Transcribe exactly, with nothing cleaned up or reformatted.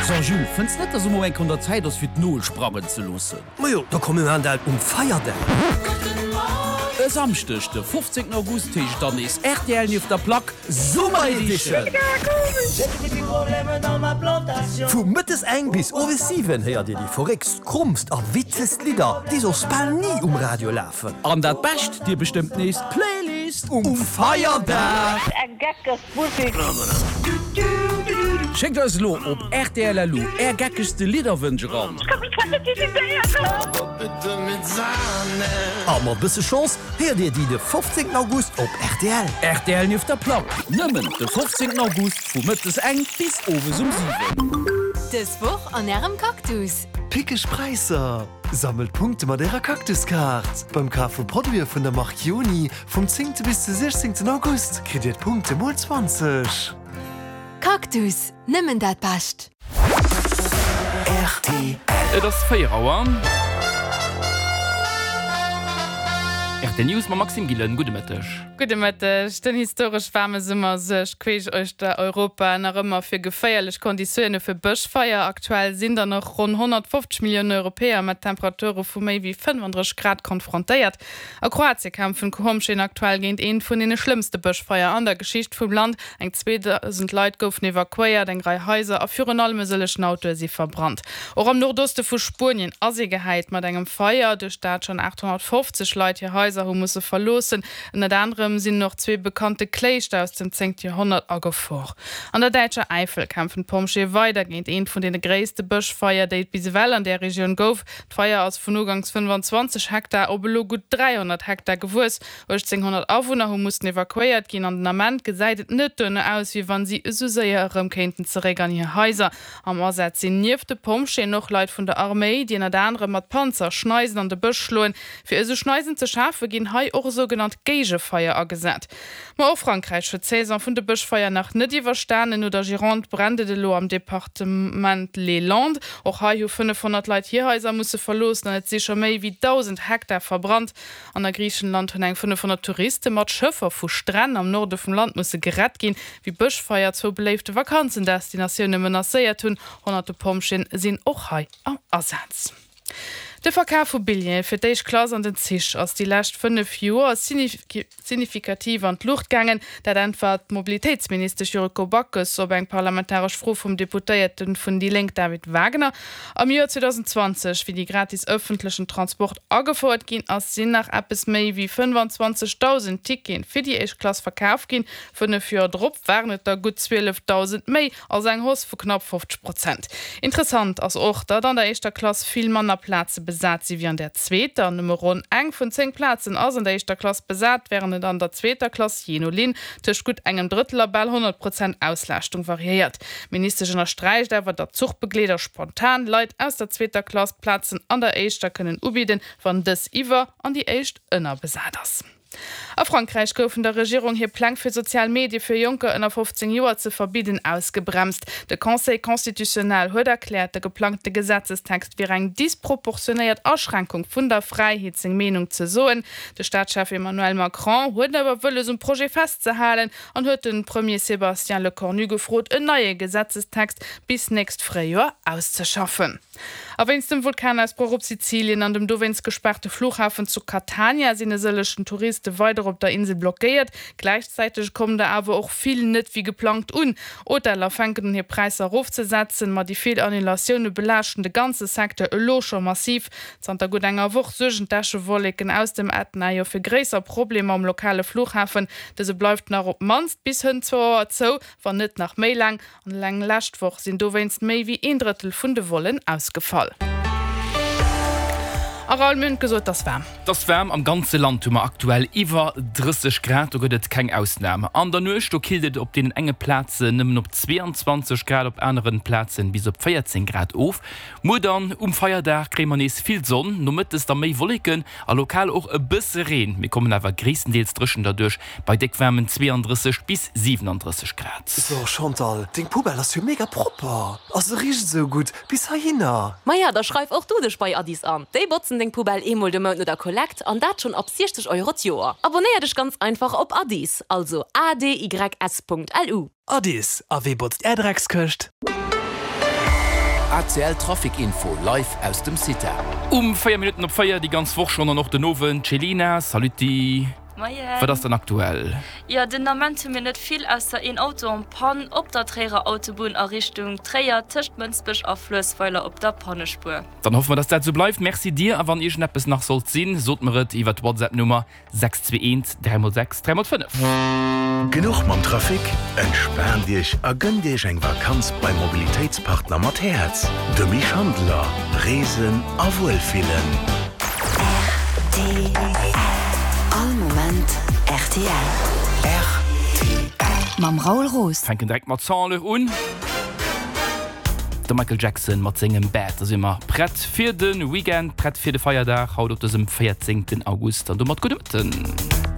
So Jules, fënns net, dass elo eng un der Zäit ass fir d'Nol sprangen ze loossen? Majo, da komm mir maachen dat um Feierdag. E Samschdeg de fofzéngten August heescht et dann nees rtl nieft der Plack Summer Edition! Vu mëttes eng bis owes siwen héiert dir déi verréckst, krommst a witzegst Lidder, déi soss bal ni um Radio lafen. An dat Bescht, dir bestëmmt nees d'Playlist um Feierdag! Schéckt eis elo op rtl.lu är geckegste Lidderwënsch eran. A mat bësse Chance héiert dir déi de fofzéngten August op rtl. Rtl nieft der Plack, nëmmen de fofzéngten August vu mëttes eng bis owes um siwen. Dës Woch an Ärem Cactus. Pickeg Präisser! Sammelt Punkte mat Ärer Cactus-Kaart! Beim Kaf vu Produite vun der Mark Joni vum zéngte bis de siechzéngten August kritt Dir d'Punkte mol zwanzeg. Cactus, nëmmen dat Bescht! Rtl. Et ass véier Auer. Rtl News mam Maxime Gillen. Gudde Mëtteg. Gudde Mëtteg. Den historesch waarme Summer suergt queesch uechter Europa nach ëmmer fir geféierlech Konditioune fir Bëschfeier. Aktuell sinn der nach ronn honnertfofzeg Millioune Europäer mat Temperature vu méi wéi fënnfandrësseg Grad konfrontéiert. A Kroatie kämpfen d'Pompjeeën aktuell géint eent vun deene schlëmmste Bëschfeier an der Geschicht vum Land. Eng zweedausend Leit goufen evakuéiert, eng Rei Haiser a virun allem e sëllegen Autoe si verbrannt. Och am Nordoste vu Spuenien ass ee gehäit mat engem Feier, duerch dat schonn aathonnertfofzeg Leit hir Haiser hu musse verloossen. Ënnert anerem sinn och zwee bekannte Kléischter aus dem zéngte Joerhonnert a Gefor. An der däitscher Äifel kämpfen d'Pompjeeë weider géint eent vun deene gréisste Bëschfeier, déi et bis ewell an där Regioun gouf. D'Feier ass vun uganks fënnfanzwanzeg Hektar op elo gutt dräihonnert Hektar gewuess. uechtzénghonnert Awunner hu mussen evakuéiert ginn an den Ament gesäit et net duerno aus, wéi wann si esou séier erëm kéinten zeréck an hir Haiser. Am Asaz sinn nieft de Pompjeeën och Leit vun der Arméi, déi ënnert anerem mat Panzer Schneisen an de Bësch schloen. Fir esou Schneisen ze schafe ginn hei och sougenannt Géigefeier agesat. Ma och Frankräich huet d'Saison vun de Bëschfeier nach net iwwerstanen. No der Gironde brennt et elo am Departement Les Landes. Och hei hu fënnefhonnert Leit hir Haiser musse verloossen an et si scho méi wéi dausend Hektar verbrannt. An a Griichenland hunn eng fënnefhonnert Touriste mat Schëffer vu Stränn am Norde vum Land musse gerett ginn, wéi Bëschfeier zwou beléifte Vakanzendestinatioune menacéiert hunn. Honnerte Pompjeeën sinn och hei am Asaz. De Verkaf vu Billjeeë fir d'éischt Klass an den Zich ass déi lescht fënnef Joer signifikativ an d'Luucht gaangen. Dat äntwert d'Mobilitéitsministesch Yuriko Backes op eng parlamentaresch Fro vum Deputéierte vun déi Lénk David Wagner. Am Joer zweedausendzwanzeg, wéi déi gratis ëffentlechen Transport agefouert ginn ass, sinn nach eppes méi wéi fënnfanzwanzegdausend Tickete fir déi éischt Klass verkaf ginn. Fënnef Joer drop waren et der gutt zwielefdausend méi, also eng Hausse vu knapp fofzeg Prozent. Interessant ass och, datt an der éischter Klass vill manner Plaze besat si wéi an der zweeter. Nëmme ronn eng vun zéng Plazen ass an der éischter Klass besat, wärend et an der zweeter Klass jee no Linn tëscht gutt engem Drëttel a bal honnert Prozent Auslaaschtung variéiert. D'Ministesch ënnersträicht awer, datt Zuchbegleeder spontan Leit aus der zweeter Klass Plazen an der éischter kënnen ubidden, wann dës iwwer an déi éischt ënnerbesat ass. A Frankräich goufen der Regierung hir Pläng fir sozial Medie fir Jonker ënner fofzéng Joer ze verbidden ausgebremst. De Conseil constitutionnel huet erkläert, de geplangte Gesetzestext wier eng disproportionéiert Aschränkung vun der Fräiheet seng Meenung ze soen. De Staatschef Emmanuel Macron huet awer wëlles um Projet festzehalen an huet de Premier Sébastien Lecornu gefrot en neie Gesetzestext bis nächst Fréijoer auszeschaffen. A wéinst dem Vulkanausbroch op Sizilien an dem dowéinst gespaarte Flughafen zu Catania sinn e sëllechen Touriste weider op der Insel blockéiert. Gläichzäiteg kommen der awer och vill net wéi geplangt un. Hoteller fänken un hir Präisser erofzesetzen, ma déi vill Annulatioune belaaschten de ganze Secteur elo scho massiv. Zanter gutt enger Woch suergen d'Äschewolleken aus dem Ätna jo fir gréisser Problemer um lokale Flughafen. Dëse bleift nach op d'mannst bis hënt zwou Auer zou, wann net nach méi laang. An eleng lescht Woch sinn dowéinst méi wéi een Drëttel vun de Vollen ausgefall. A Raoul, mir hunn et gesot, 't ass waarm. 't ass waarm, am ganze Land hu mer aktuell iwwer drësseg Grad, do gëtt et keng Ausnam. An der Nuecht, do killt et op deenen enge Plazen nëmmen op zweeanzwanzeg Grad, op aneren Plazen bis op véierzéng Grad of. Muer dann um Feierdag kréie mer nees vill Sonn, nomëttes da méi Wolleken a lokal och e bësse Reen. Mir kommen awer gréisstendeels dréchen derduerch bei déck waarmen zweeandrësseg bis siwenandrësseg Grad. So Chantal, deng Poubelle ass jo mega propper a se richt esou gutt bis heihinner. Maja, da schreif och du dech bei Addis an. Déi botzen deng Poubelle eemol de Mount no der Kollekt an dat schonn ab siechzeg Euro d'Joer. Abonnéier dech ganz einfach op Addis, also A D Y S Punkt L U. Addis, a wee botzt är Dreckskëscht? A C L Trafic Info live aus dem CITA. Um véier Minutten op véier déi ganz Woch schonn an och den Owend. Céline, saluti. Moien. Wat ass dann aktuell? Jo, den Ament hu mir net vill, ausser een Auto en panne op der Tréierer Autobunn a Richtung Tréier, tëscht Mënsbech a Fluessweiler op der Pannespuer. Dann hoffe mer, dass dat sou bleift. Merci dir a wann iergendeppes nach sollt sinn, sot mer et iwwer d'WhatsApp-Nummer sechs zwee eent dräi mol sechs dräi mol fënnef. Genuch mam Trafic? Entspaant Iech a gënnt Iech eng Vakanz beim Mobilitéitspartner mat Häerz, dem Misch Handeler. Reesen a Wuelfillen. R T L. All Moment R T L. R T L. Mam Raoul Roos. Fänken direkt mat Sans Lech un. De Michael Jackson mat sengem Bad. Da si mer prett fir de Weekend, prett fir de Feierdag haut op dësem véierzéngten August. An domat gudde Mëtten.